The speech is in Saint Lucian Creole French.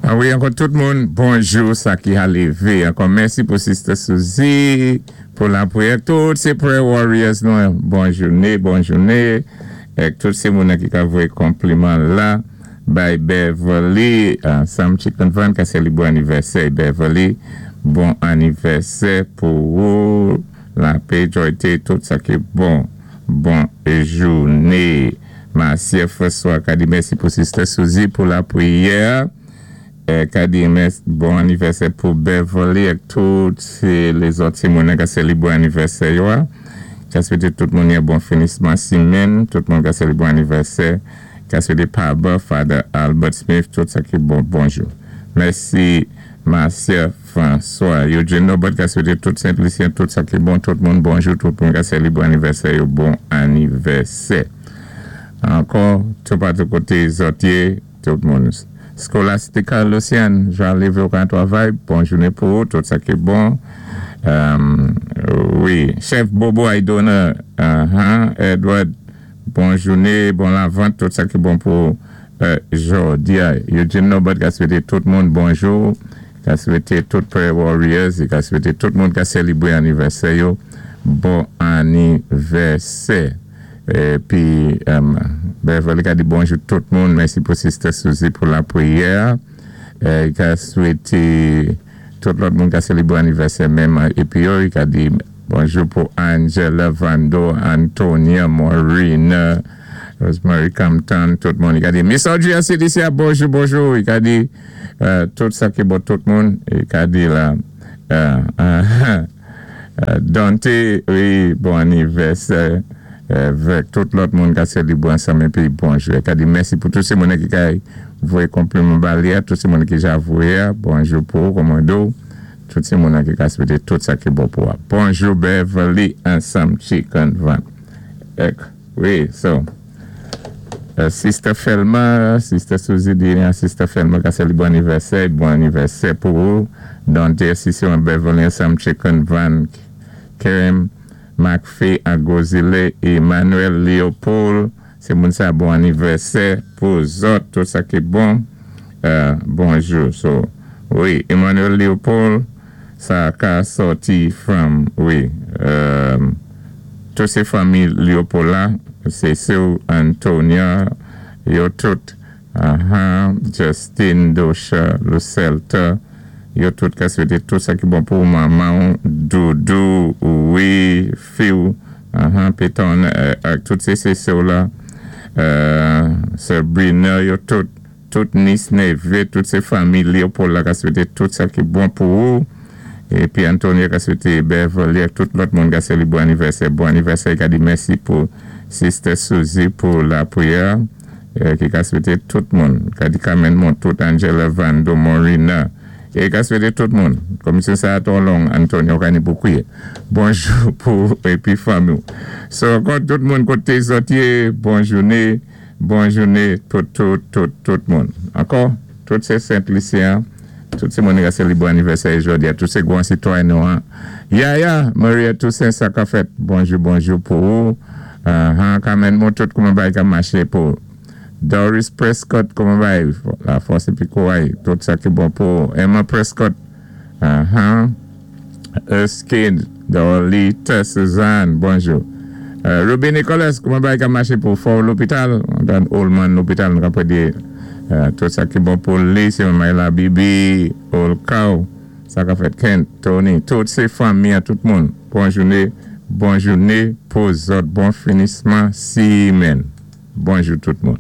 Wi, ankò tout moun, bonjou, sa ki ka lévé. Ankò mèsi pou Sister Suzy, pou lapriyè. Tout sé prayer warriors nou, bon jouné, bon jouné. Èk tout sé moun ki ka voyé konpliman la. Bay Beverly, Sam Chicken Van, ka sélibré anivèsè. Beverly, bon anivèsè pou ou. Lapè, jòyté, tout sa ki bon. Bon jouné. Marcia François, ka di mèsi pou Sister Suzy pou lapriyè. Ka di bon anivèsè pou Beverly èk tout lézòt ti moun ka sélibré anivèsè yo. Ka swété tout moun yon bon finisman simenn, tout moun ka sélibré anivèsè. Ka swété Papa, Father Albert Smith, tout sa ki bon, bonjou. Mèsi Marcia François. Eugene Norbert ka swété tout Saint-Lucien, tout sa ki bon, tout moun bonjou, tout moun ka sélibré anivèsè yo, bon anivèsè. Ankò, tout patou koté zòt yé, tout moun. Scholastica Lucian, jan lévé ou ka travay, bon jouné pou ou, tout sa ki bon. Wi, Chef Bobo Aidona, Edward, bon jouné, bon lavant, tout sa ki bon pou jòdi. Eugene Norbert ka swété tout moun bonjou, ka swété tout prayer warriors, ka swété tout moun ka sélibré anivèsè yo, bon anivèsè. Épi, Beverly ka di bonjou tout moun, mèsi pou Sister Suzy pou lapriyè. Ka swété tout lòt moun ka sélibré anivèsè menm. Épi yo, ka di bonjou pou Angela Vando, Antonia, Maureen, Rosemary Compton, tout moun. Li ka di Miss Audrey CDC, bonjou, bonjou. Li ka di tout sa ki bon tout moun. Li ka di la, Dante, wi, bon anivèsè avèk tout lòt moun ka sélibré ansanm épi bonjou. Li ka di mèsi pou tout sé moun ki ka voyé konpliman ba li, tout sé moun ki ja voyé, bonjou pou ou, kòmando. Tout sé moun ki ka swété tout sa ki bon pou ou. Bonjou Beverly ansanm Chicken Van. Èk, wi, so. Sister Felma, Sister Suzy di Sister Felma ka sélibré anivèsè, bon anivèsè pou ou. Dante, Sister Beverly ansanm Chicken Van, Kerem, McPhee, Agozile, Emmanuel Leopold, sé moun sa bon anivèsè pou zòt, tout sa ki bon. Bonjou. So, wi, Emmanuel Leopold, sa ka sòti from, wi, tout sé fanmi Leopold la, sé sè Antonia, yo tout, Justin, Dosha, Lucelta, yo tout ka swété tout sa ki bon pou manman, Doudou, wi, Phil, Peton, ak tout sé sè la, Sabrina, yo tout, tout niece, neveu, tout sé fanmi Leopold la ka swété tout sa ki bon pou ou. Épi Antonio ka swété Beverly ak tout lòt moun ka sélibré anivèsè. Bon anivèsè, li ka di mèsi pou Sister Suzy pou lapriyè ki ka swété tout moun. Ka di Carmen Montout, Angela Vando, Morina. É ka swété tout moun. Komisyon sa twò long, Antonio ka ni pou kwiyé. Bonjou pou épi fanmi. So, ankò tout moun koté zòt yé, bon jouné, bon jouné pou tout, tout, tout moun. Ankò, tout sé Saint-Lucien, tout sé moun ki sélibré anivèsè jòdi, tout sé gwan sitwayen nou. Yaya, Maria Toussaint, sa ka fèt. Bonjou, bonjou pou ou. Carmen Montout, kouman bagay ka maché pou Doris Prescott, kouman bagay lafòs épi kouray, tout sa ki bon pou Emma Prescott. Erskine, Dorlita, Suzanne, bonjou. Ruby Nicholas, kouman bagay ka maché pou fò lopital? Dan Oldman lopital, nou ka di tout sa ki bon pou li, sé Mayla Bibi, Olkaw, sa ka fèt Kent, Tony, tout sé fanmi tout moun. Bon jouné, bon jouné pou zòt, bon finisman simenn. Bonjou tout moun.